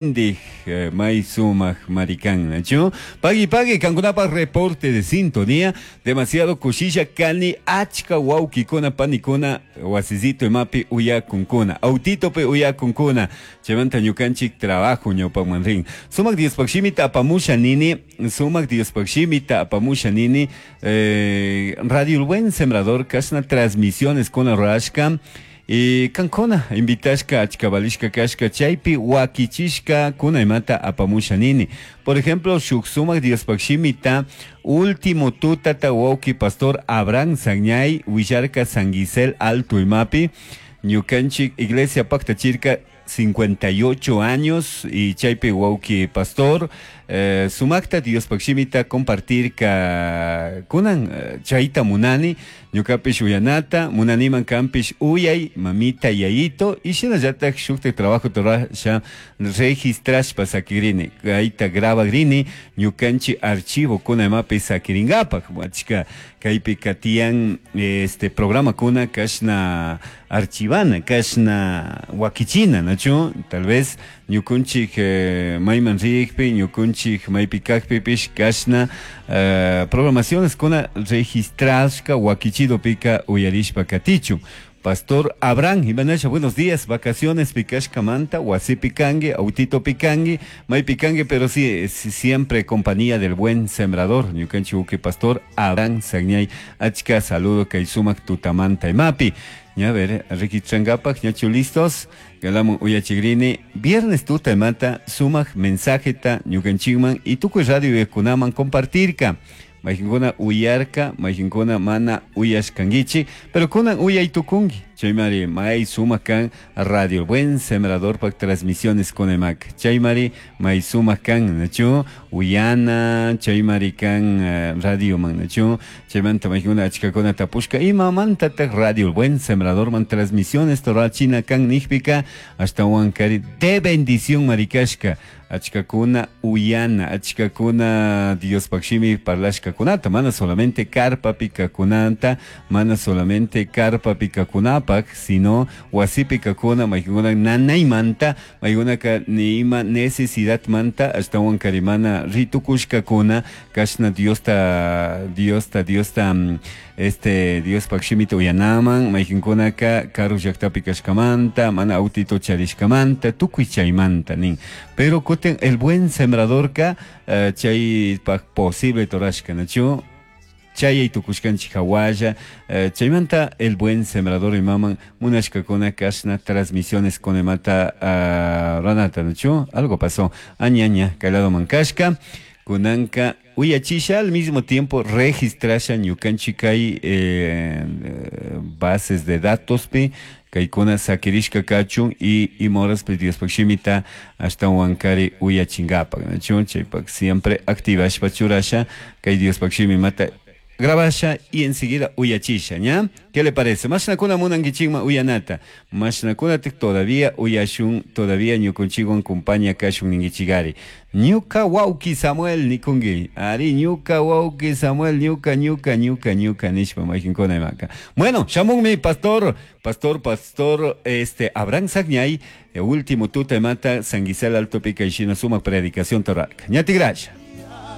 Ndij may sumaj marikan, nachu? Pagui pagui kankunapaj reporte de sintonía, demasiado kushilla kani achka wawkikuna panikuna wasizito imapi uyakunkuna, autitopi uyakunkuna, chaymanta ñukanchik trabajo ñawpakman rin. Sumak Diospaj shimita apamusha nini, sumak Diospaj shimita apamusha nini, Radio El Buen Sembrador kashna transmisiones kuna rurashka, y kankuna invitashka achka valishka kashka chaypi wakichishka kuna imata apamusha nini. Por ejemplo, shuk sumak Diospaj shimita último tutata wawki pastor Abraham Sagñay willarka San Gisel Alto imapi, ñukanchik iglesia paktachirka 58 años y chaypi wawki pastor sumakta Diospaj shimita compartirka kunan chayta munani ñukapish uyanata munaniman kanpish uyay mamita yayito y shinallatak shuktak trabajo rurasha registrashpa sakirini kayta grabagrini ñukanchik archivo kuna imapi sakiringapak achka kaypika tiyan este programakuna kashna archivana kashna wakichina nachu tal vez ñukunchik mayman rikpi ñukunchik maypi kakpipish kashna programaciones kuna registrashka wakichidopika uyarishpa katichun. Pastor Abraham Ibanasha, buenos días, vacaciones pikashkamanta, wasipi kanki, autitopi kanki, maypi kanki, pero sí, sí, siempre compañía del buen sembrador, ñukanchik uki pastor Abraham Sagñay, achka saludo kay sumak tutamanta imapi. Ya, a ver, registrangapak, ñachu listos, galamun uyachigrini, viernes tuta imata, sumak mensajeta ñukanchikman y tukuy radio kunaman compartirka. Mayqinkuna uyarka, mayqinkuna mana uyashkankichik, pero kunan uyay tukunki. Chaymari may sumak kan Radio Buen Sembrador pak transmisiones kunaymaka. Chaymari may sumak kan, nachu uyana, chaymari kan radio man, nachu chaymanta mayqinkuna achkakuna tapushka imamantataq Radio Buen Sembrador man transmisiones torachina kan nijpika ashtawan kari de bendición marikashka. Achkakuna uyana, achkakuna Diospaj shimi parlashkakunata, mana solamente karpapi kakunata, mana solamente karpapi kakunapak, sino wasipi kakuna, mayqinkuna nanaymanta, maykunaka ni ima necesidad manta, ashtawan karimana ritukushkakuna, kashna Diosta, Diosta, Diosta, este, Diospaj shimita uyanaman, mayqinkunaka karu llaktapi kashkamanta, mana autito charishkamanta, tukuy chaymanta nin. Pero kutin el buen sembradorka chaypaj posible torashka, nachu? Chayay tukushkanchik hawalla, chaymanta el buen sembrador imaman munashkakuna kashna transmisiones kunaymanta ranata, nachu? Algo pasó. Aña, aña, kay lado man kashka, kunanka uyachisha al mismo tiempo registrasha ñukanchik kay bases de datos pi kaykuna sakirishka kachun y imoraspi Diospaj shimita ashtawan kari uyachingapak, nachu? Chaypak siempre activashpa churasha kay Diospaj shimimata grabasha y enseguida uyachisha, ¿ya? ¿Qué le parece? Mashnakuna munankichikman uyanata. Mashnakunatik todavía uyashun, todavía ñukunchikwan compañía kashun ninkichikari. Ñuka wawki Samuel nikunki. Ari, ñuka wawki Samuel, ñuka, ñuka, ñuka, ñuka nishpa mayqinkuna imaka. Bueno, shamunmi pastor, pastor, pastor, este, Abraham Sagñay, último tuta imata, San Gisel Alto Pica y Shina suma predicación torraka. Ñati gracias.